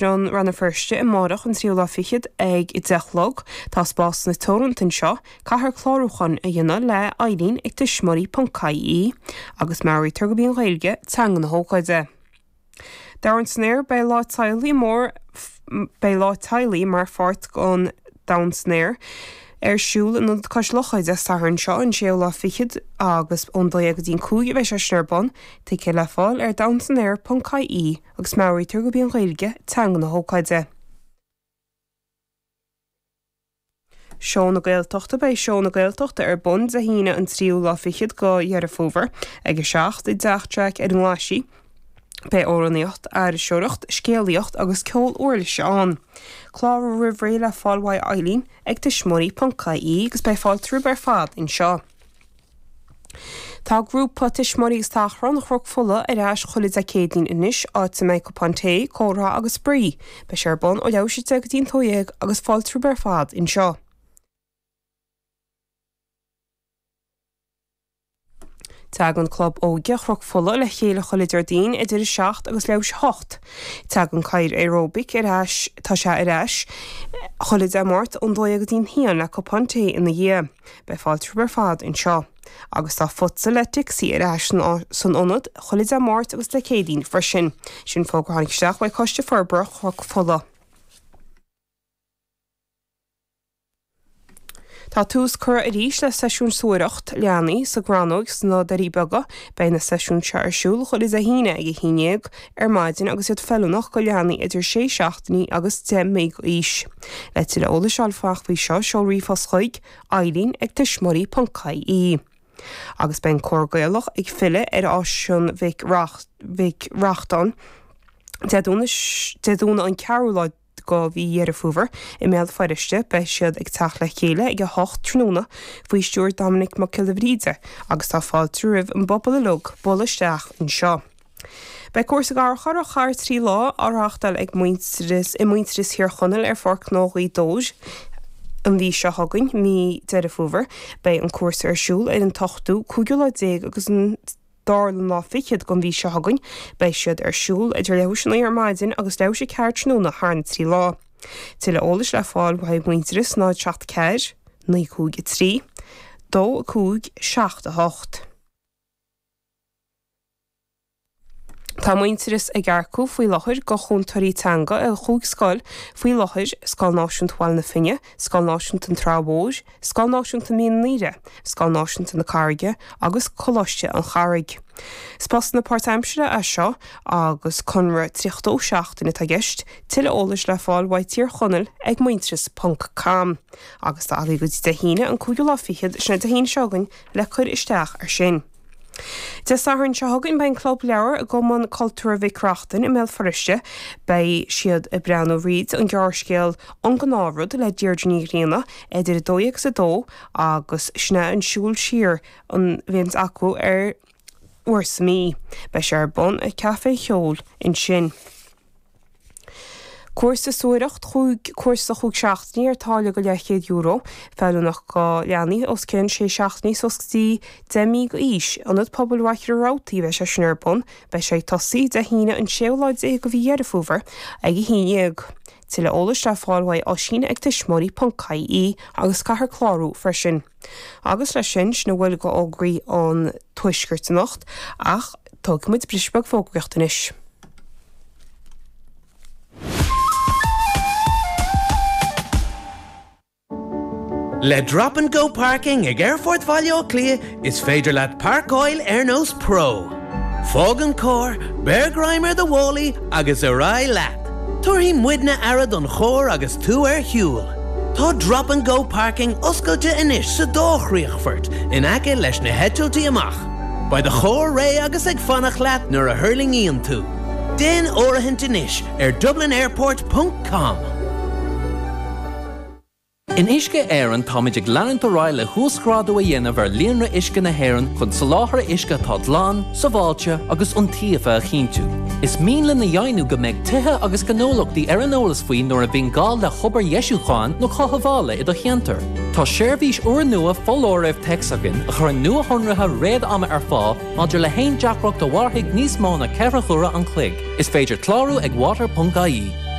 Rann na Feirste amárach an tríú lá fichead ag 10 a chlog. Tá spásanna teoranta anseo. Caithfear clárúchán a dhéanamh le Eileen ag tuismitheoirí.ie agus meabhraítear gurb í an Ghaeilge teanga na hócáide. Domhan san Aer Beidh Lá Teaghlaigh mór Beidh Lá Teaghlaigh mar pháirt den Domhan san Aer ar siúl in Ionad Cois Locha Dé Sathairn seo an séú lá fichead agus ón 12 go dtí an 5 a bheidh sé sin ar bun. Ticéid le fáil ar domhansanaer.ie. agus meabhraítear gurb í an Ghaeilge teanga na hócáide. Seó na Gaeltachta Beidh Seó na Gaeltachta ar bun Dé hAoine an tríú lá fichead de Dheireadh Fómhair ag 7 i dTeach Jack ar an nGlaisigh. Beidh amhránaíocht, iriseoireacht, scéalaíocht agus ceol uirlise ann. Clárú roimh ré le fáil uaidh Eileen ag tuismitheoirí.ie agus beidh fáilte romhaibh ar fad anseo. Tá grúpa Tuismitheoirí agus Tachrán Chnoc Fola ar ais chuile Dé Céadaoin anois, áit a mbeidh cupán tae, comhrá agus spraoi. Beidh sé ar bun ó leathuair tar éis 10 go dtí an 12 agus fáilte romhaibh ar fad anseo. Tagann Club Óige Chnoc Fola le chéile chuile Déardaoin idir 7 agus leathuair tar éis 8. Tagann Cathaoir Aeróbaic ar ais, tá sé ar ais, chuile Dé Máirt ón 12 go dtí an 1 le cupán tae ina dhiaidh. Beidh fáilte romhaibh ar fad anseo. Agus tá Futsal le Dixie ar ais san ionad chuile Dé Máirt agus Dé Céadaoin freisin. Sin fógra a tháinig isteach uaidh Coiste Forbartha Chnoc Fola. Tá tús curtha arís le seisiúin suathaireacht leanaí sa gCrannóg sna Doirí Beaga. Beidh na seisiúin seo ar siúl chuile Dé hAoine ag 11 ar maidin agus iad feiliúnach go leanaí idir 6 seachtainí agus 10 mí d'aois. Le tuilleadh eolais a fháil amach faoi seo, seol ríomhphost chuig, Eileen ag tuismitheoirí ponc ie. Agus beidh an Cór Gaelach ag filleadh ar Áislann Mhic Mhic Reachtain Dé Domhnaigh an ceathrú lá de mhí Dheireadh Fómhair i mBéal Feirste. Beidh siad ag teacht le chéile ag 8 tráthnóna faoi stiúir Dominic Mac Giolla Bhríde agus tá fáilte roimh an bpobal uilig bualadh isteach anseo. Beidh cúrsa garchabhrach thar 3 lá á reáchtáil ag Muintearas i Muintearas Thír Chonaill ar Pháirc Ghnó Ghaoth Dobhair an mhí seo chugainn, mí Deireadh Fómhair. Beidh an cúrsa ar siúl ar an t-ochtú, cúigiú lá déag agus an dara lá fichead den mhí seo chugainn. Beidh siad ar siúl idir leathuair tar éis a 9 ar maidin agus leathuair tar éis a 4 tráthnóna thar na 3 lá. Tuilleadh eolais le fáil uaidh Muintearas 0 7 4 9 5 3 2 5 7 8. Tá Muintearas ag earcú faoi láthair go chúntóirí teanga i chúig scoil faoi láthair, Scoil Náisiúnta Bhaile na Finne, Scoil Náisiúnta an Trá Mhóir, Scoil Náisiúnta Mín an Aoire, Scoil Náisiúnta na Carraige agus Coláiste an Charraigh. Is postanna páirtaimseartha é seo agus conradh 32 seachtain atá i gceist, tuilleadh eolais le fáil uaidh Tír Chonaill ag muintearas ponc com. Agus tá agaibh go dtí Dé hAoine an cúigiú lá fichead, sin é Dé hAoine seo chugainn, le cur isteach air sin. Dé Sathairn seo chugainn beidh an Club Leabhar i gCumann Cultúrtha Mhic Reachtain i mBéal Feirste. Beidh siad ag breathnú fríd an gearrscéal An Gnáthrud le Deirdre Ní Ghrianna idir 12 agus 2 agus sin é an siúl siar a bhíonns acu ar uair sa mí. Beidh sé ar bun ag Caife Cheoil ansin. Cúrsa suathaireacht chúig Cúrsa chúig seachtainí ar táille go leathchéad euro, feiliúnach go leanaí os cionn sé seachtainí suas go dtí 10 mí d'aois. Ionad Pobail Mhachaire Rabhartaigh a bheidh sé sin ar bun. Beidh sé ag tosaí Dé hAoine an séú lá déag de mhí Dheireadh Fómhair ag 11. Tuilleadh eolais le fáil uaidh Oisín ag tuismitheoirí ponc ie agus caithfear clárú freisin. Agus leis sin, sin a bhfuil go fhógraí an Tuaiscirt anocht ach tógfaidh muid briseadh beag fógraíochta anois. Le Drop and Go Parking ag Aerfort Bhaile Átha Cliath is féidir leat páirceáil ar nós pro. Fág an carr, beir greim ar do mhálaí agus ar aghaidh leat! Tabharfaidh muidne aire don charr agus tú ar shiúl. Tá Drop and Go Parking oscailte anois sa dá chríochfort in aice leis na heitiltí amach. Beidh do charr réidh agus ag fanacht leat nuair a thuirlingíonn tú. Déan áirithint anois ar dublinairport ponc com. In Uisce Éireann táimid ag leanúint ar aghaidh le huasghrádú a dhéanamh ar líonra uisce na hÉireann chun soláthar uisce atá glan, sábháilte agus iontaofa a chinntiú. Is mian linn a dheimhniú go mbeidh tithe agus gnólachtaí ar an eolas faoi nuair a bhíonn gá le hobair dheisiúcháin nó chothabhála i do cheantar. Tá seirbhís úrnua foláirimh téacs againn a chuireann nuashonruithe réad-ama ar fáil maidir le haon deacracht a mhairfidh níos mó ná 4 huaire an chloig. Is féidir clárú ag water.ie.